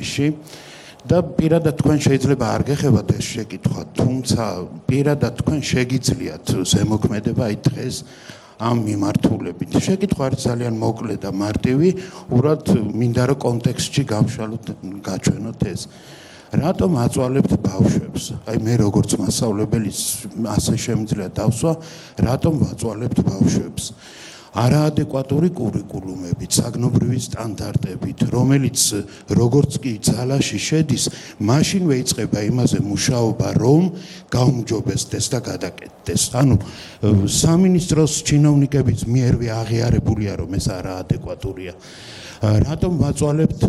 აპრილში და პირადად თქვენ შეიძლება არ გეხებათ ეს შეკითხვა, თუმცა პირადად თქვენ შეგიძლიათ ზემოქმედება აი დღეს ამ მიმართულებით. შეკითხვა არის ძალიან მოკლე და მარტივი, უბრალოდ მინდა რომ კონტექსტში გავშალოთ, გაჩვენოთ ეს. რატომ აწვალებთ ბავშვებს? აი მე როგორც მასწავლებელი ასე შემიძლია დავსვა, რატომ ვაწვალებთ ბავშვებს? არაადეკვატური კურიკულუმებით, საგნობრივი სტანდარტებით, რომელიც როგორც კი ძალაში შედის, მაშინვე იწყება იმაზე მუშაობა, რომ გაუმჯობესდეს და გადაკეთდეს. ანუ სამინისტროს ჩინოვნიკების მიერვე აღიარებულია, რომ ეს არაადეკვატურია. რატომ ვაწვალებთ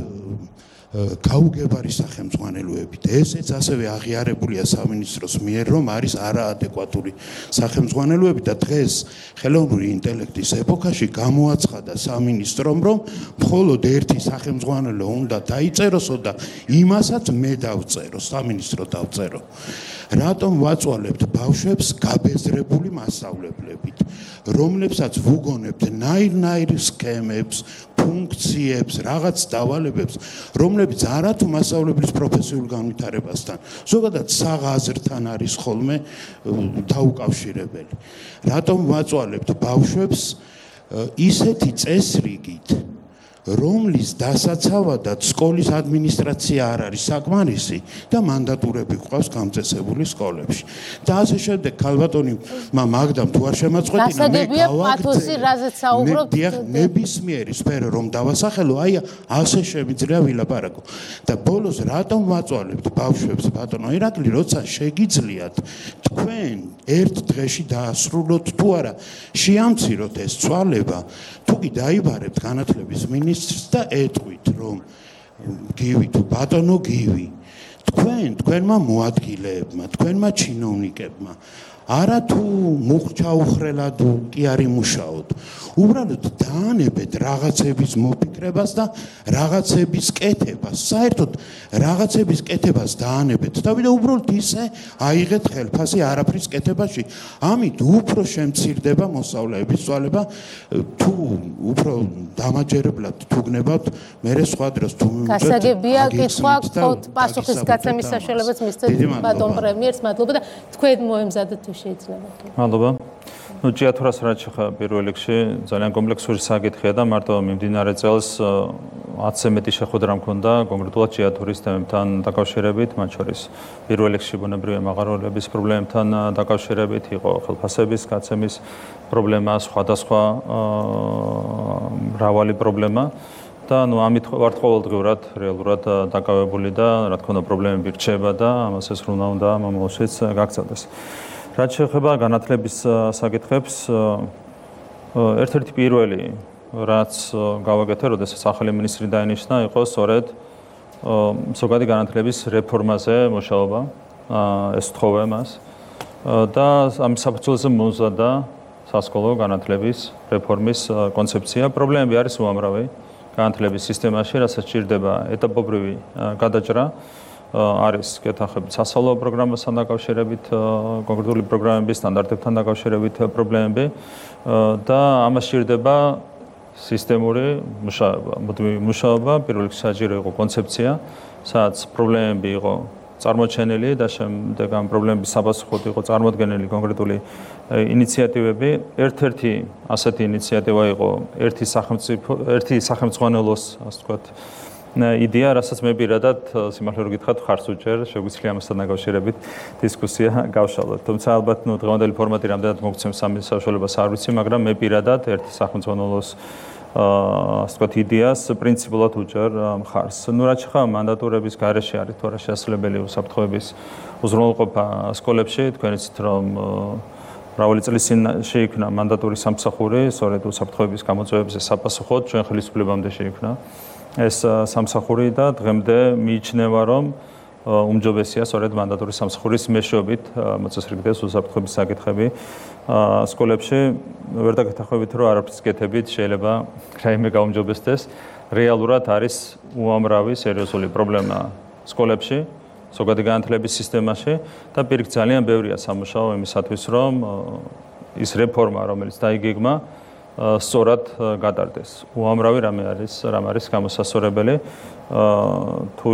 გაუგებარი სახელმძღვანელოებით. ესეც ასევე აღიარებულია სამინისტროს მიერ, რომ არის არაადეკვატური სახელმძღვანელოები და დღეს ხელოვნური ინტელექტის ეპოქაში გამოაცხადა სამინისტრომ, რომ მხოლოდ ერთი სახელმძღვანელო უნდა დაიწეროსო და იმასაც მე დავწერო, სამინისტრო დავწერო. რატომ ვაწვალებთ ბავშვებს გაბეზრებული მასწავლებლებით, რომლებსაც ვუგონებთ ნაირ-ნაირ სქემებს, ფუნქციებს, რაღაც დავალებებს, რომლებიც არათუ მასწავლებლის პროფესიულ განვითარებასთან, ზოგადად საღაზრთან არის ხოლმე დაუკავშირებელი. რატომ ვაწვალებთ ბავშვებს ისეთი წესრიგით, რომლის დასაცავადად სკოლის ადმინისტრაცია არ არის საკმარისი და მანდატურები გვყავს გამწესებული სკოლებში. და ასე შემდეგ, ქალბატონი მაგდამ თუ არ შემაწყვეტინა, მე გავაგრძელებ ნებისმიერი სფერო რომ დავასახელო, აი ასე შემიძლია ვილაპარაკო. და ბოლოს რატომ ვაწვალებთ ბავშვებს, ბატონო ირაკლი, როცა შეგიძლიათ თქვენ ერთ დღეში დაასრულოთ თუ არა, შეამციროთ ეს ცვალება, თუ კი დაიბარებთ განათლების მინისტრს და ეტყვით, რომ გივი თუ ბატონო გივი, თქვენმა მოადგილეებმა, თქვენმა ჩინოვნიკებმა, არა თუ მუხჩაუხრელად კი არ იმუშაოთ, უბრალოდ დაანებეთ რაღაცების მოფიქრებას და რაღაცების კეთებას, საერთოდ რაღაცების კეთებას დაანებეთ და უბრალოდ ისე აიღეთ ხელფასი არაფრის კეთებაში, ამით უფრო შემცირდება მოსწავლეების წვალება, თუ უფრო დამაჯერებლად თუ გნებავთ, მერე სხვა დროს თუ გასაგებია კითხვა, პასუხის გაცემის საშუალებაც მისცეთ ბატონ პრემიერს, მადლობა და თქვენ მოემზადეთ თუ შეიძლება. მადლობა. ჭიათურას რაც შეხება პირველ რიგში ძალიან კომპლექსური საკითხია და მარტო მიმდინარე წელს 10-ზე მეტი შეხვედრა მქონდა კონკრეტულად ჭიათურის თემებთან დაკავშირებით, მათ შორის პირველ რიგში ბუნებრივი მაღაროების პრობლემებთან დაკავშირებით, იყო ხელფასების გაცემის პრობლემა, სხვადასხვა მრავალი პრობლემა და ამით ვართ ყოველდღიურად რეალურად დაკავებული და რა თქმა უნდა პრობლემები რჩება და ამას ეს რუნა უნდა მომავალშიც გაგრძელდეს. რაც შეეხება განათლების საკითხებს, ერთ-ერთი პირველი, რაც გავაკეთე, როდესაც ახალი მინისტრი დაინიშნა, იყო სწორედ ზოგადი განათლების რეფორმაზე მუშაობა, ეს ვთხოვე მას და ამის საფუძველზე მომზადდა სასკოლო განათლების რეფორმის კონცეფცია. პრობლემები არის უამრავი განათლების სისტემაში, რასაც სჭირდება ეტაპობრივი გადაჭრა. არის კეთახებით სასწავლო პროგრამასთან დაკავშირებით, კონკრეტული პროგრამების სტანდარტებთან დაკავშირებით პრობლემები და ამას სჭირდება სისტემური მუშაობა, პირველ რიგში საჭირო იყო კონცეფცია, სადაც პრობლემები იყო წარმოჩენილი და შემდეგ ამ პრობლემების საპასუხოდ იყო წარმოდგენილი კონკრეტული ინიციატივები. ერთ-ერთი ასეთი ინიციატივა იყო ერთი სახელმძღვანელოს, ასე ვთქვათ, იდეა, რასაც მე პირადად სიმართლე რომ გითხრათ, ხარს უჭერ, შეგვიძლია ამასთან დაკავშირებით დისკუსია გავშალოთ. თუმცა ალბათ დღევანდელი ფორმატი რამდენად მოგცემს ამ საშუალებას არ ვიცი, მაგრამ მე პირადად ერთი სახელმძღვანელოს ასე ვთქვათ იდეას პრინციპულად უჭერ ხარს. რაც ხა მანდატურების გარეშე არის თუ არა შესაძლებელი უსაფრთხოების უზრუნველყოფა სკოლებში, თქვენ იცით რომ მრავალი წლის წინ შეიქმნა მანდატური სამსახური, სწორედ უსაფრთხოების გამოწვევებზე საპასუხოდ ჩვენ ხელისუფლებამდე შეიქმნა ეს სამსახური და დღემდე მიიჩნევა, რომ უმჯობესია სწორედ მანდატური სამსახურის მეშვეობით მოწესრიგდეს უსაფრთხოების საკითხები სკოლებში. ვერ დაგეთანხმებით, რომ არაფრის კეთებით შეიძლება რაიმე გაუმჯობესდეს. რეალურად არის უამრავი სერიოზული პრობლემა სკოლებში, ზოგადი განათლების სისტემაში და პირიქით ძალიან ბევრია სამუშაო იმისათვის, რომ ის რეფორმა, რომელიც დაიგეგმა, სწორად გადარდეს. უამრავი რამ არის გამოსასწორებელი. თუ